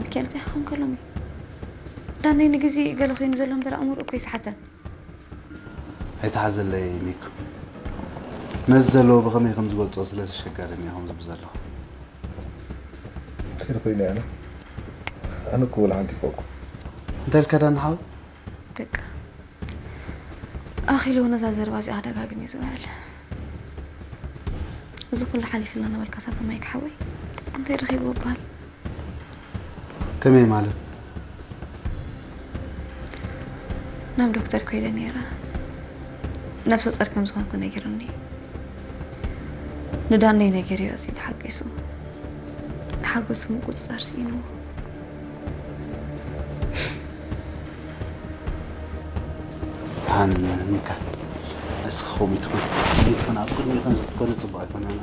ሚካኤል እንታይ ክኸውን ከሎም እዩ? ዳነይ ንግዜ ገለ ኮይኑ ዘሎ እምበር ኣእምሮ እኮ ይስሓተን። ኣይተሓዘለይ ሚኩ። ነዚ ዘለዎ ብኸመይ ከም ዝገልጾ ስለ ዘሸጋርኒ እየ ከምዚ ብዘለኹ። እንታይ ኮይኑ ኣነ ኣነ እኮ ወላ ሓንቲ ይፈኩ እንታይ ኢልካ ዳኒ ሓወይ? በቃ ኣኺሉ ነዛ ዘረባ እዚኣ ደጋግም እዩ ዝውዕል። እዚ ኩሉ ሓሊፍልና ነበልካ ሳተማይ ክሓወይ እንታይ ረኺብዎ በሃል? ከመይ ማለት? ናብ ዶክተር ኮይደ ነይረ። ነብሰ ጾር ከም ዝኾንኩ ነጊሩኒ። ንዳነይ ነጊርዮ ኣዝዩ ተሓጒሱ። ሓጎሱ ምቁጽጻር ስኢንዎ። ደሓን ሚካ፣ እስኺ ከምኡ ትኹን ከምኡ ትኹን ኣብ ቅድሚኡ ከም ዝትኮነ ጽቡቕ ኣይኮነን።